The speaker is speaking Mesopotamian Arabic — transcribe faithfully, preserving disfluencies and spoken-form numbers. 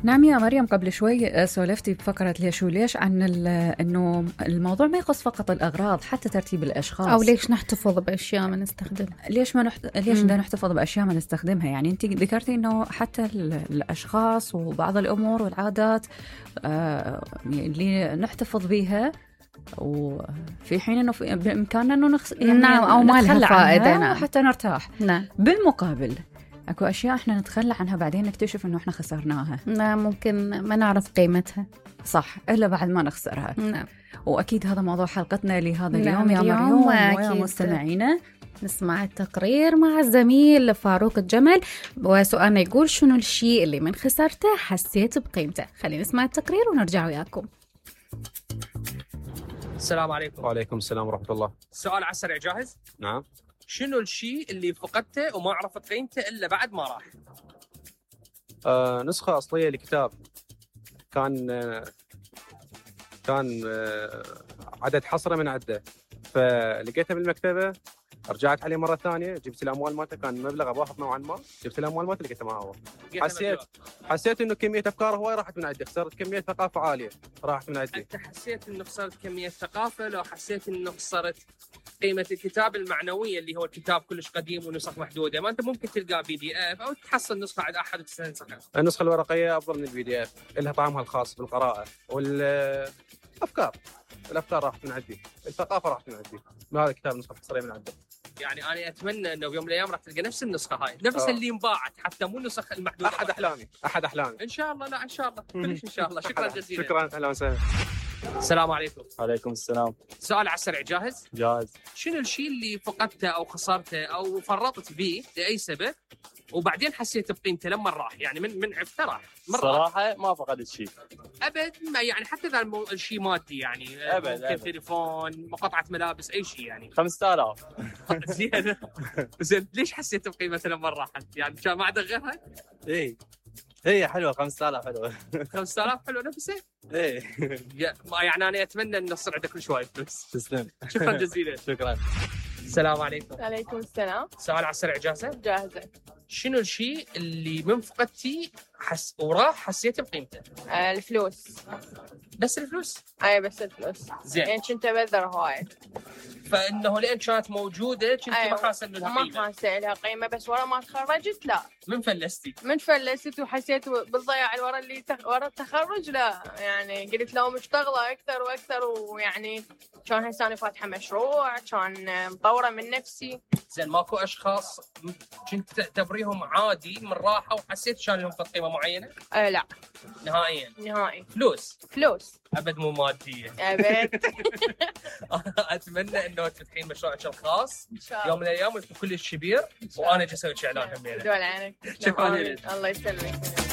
نعم يا مريم، قبل شوي سولفتي بفقرة ليش وليش عن أنه الموضوع ما يخص فقط الأغراض، حتى ترتيب الأشخاص، أو ليش نحتفظ بأشياء ما نستخدمها، ليش ما نحت... ليش بدنا نحتفظ بأشياء ما نستخدمها. يعني أنت ذكرتي أنه حتى الأشخاص وبعض الأمور والعادات آه اللي نحتفظ بيها، وفي حين أنه بإمكاننا أنه نخص... يعني نعم أو ما لها فائدة، نعم، حتى نرتاح. نعم. بالمقابل اكو اشياء احنا نتخلى عنها بعدين نكتشف انه احنا خسرناها. نعم، ممكن ما نعرف قيمتها. صح، الا بعد ما نخسرها. نعم. واكيد هذا موضوع حلقتنا لهذا نعم. اليوم يا مريم ويا مستمعينا. نسمع التقرير مع الزميل فاروق الجمل، وسؤالنا يقول شنو الشيء اللي من خسرته حسيت بقيمته. خلينا نسمع التقرير ونرجع وياكم. السلام عليكم. وعليكم السلام ورحمة الله. السؤال على السريع جاهز؟ نعم. شنو الشيء اللي فقدته وما عرفت قيمته إلا بعد ما راح؟ آه، نسخة أصلية لكتاب كان آه، كان آه، عدد حصرة من عدة، فلقيتها بالمكتبة، رجعت عليه مرة ثانية، جبت الأموال مالته، كان مبلغ أباهظ نوعا ما، جبت الأموال مالته لقيتها ما هو. حسيت حسيت إنه كمية أفكار هواي راحت من عندي، خسرت كمية ثقافة عالية راحت من عندي. أنت حسيت إنه خسرت كمية ثقافة، لو حسيت إنه خسرت قيمة الكتاب المعنوية اللي هو الكتاب كلش قديم ونسخ محدودة؟ ما أنت ممكن تلقى بي دي اف أو تحصل نسخة عند أحد وتستنسخها. النسخة الورقية أفضل من البي دي اف، لها طعمها الخاص بالقراءة، والأفكار الأفكار راحت من عندي، الثقافة راحت من عندي. هذا الكتاب نسخة حصرية من عندي. يعني أنا أتمنى إنه بيوم من الأيام راح تلقى نفس النسخة هاي، نفس أوه. اللي انباعت، حتى مو النسخ المحدودة. أحد أحلامي، أحد أحلامي. إن شاء الله. لا إن شاء الله، كلش إن شاء الله. شكرا جزيلا. شكرا، أهلا وسهلا. السلام عليكم. عليكم السلام. سؤال على السريع، جاهز؟ جاهز. شنو الشيء اللي فقدته أو خسرته أو فرطت به لأي سبب وبعدين حسيت بقيمته لما راح؟ يعني من من عرفته راح. صراحة ما فقدت شيء. أبد ما يعني، حتى إذا الشيء مادي يعني. أبد. ممكن أبد. تليفون، قطعة ملابس، أي شيء يعني. خمسة آلاف. زين. زين ليش حسيت بقيمته لما راحت؟ يعني كان ما عندك غيرها؟ إيه. هي حلوة، خمسة آلاف حلوة. خمسة آلاف حلوة نفسه؟ إيه. يعني أنا أتمنى إنه يصير عندك كل شوية فلوس. تسلم. شكرا جزيلا. شكرا. السلام عليكم. عليكم السلام. سؤال على السريع، جاهزة؟ جاهزة. شنو الشيء اللي من فقدتي حس وراح حسيت بقيمته؟ آه الفلوس. بس الفلوس؟ اي بس الفلوس. زين. يعني كنت ابذر هواي، فانه لين كانت موجوده كنت أيوة. ما حاسه انه لها قيمه. ما حاسه لها قيمه، بس ورا ما تخرجت لا. من فلستي؟ من فلست وحسيت بالضياع ورا اللي تخ... ورا التخرج. لا يعني قلت لو مشتغله اكثر واكثر، ويعني كان هسه انا فاتحه مشروع، كان مطوره من نفسي. زين ماكو اشخاص كنت تعتبريهم عادي من راحه وحسيت كان لهم قيمه معينه؟ آه لا نهائيا. نهائي. فلوس؟ فلوس ابد مو ماديه. ابد. اتمنى انه تفتحين مشروعك الخاص ان شاء الله يوم من الايام ويكون كلش كبير، وانا جالس اسوي اعلان همينه. دول عنك. شكرا. الله يسلمك.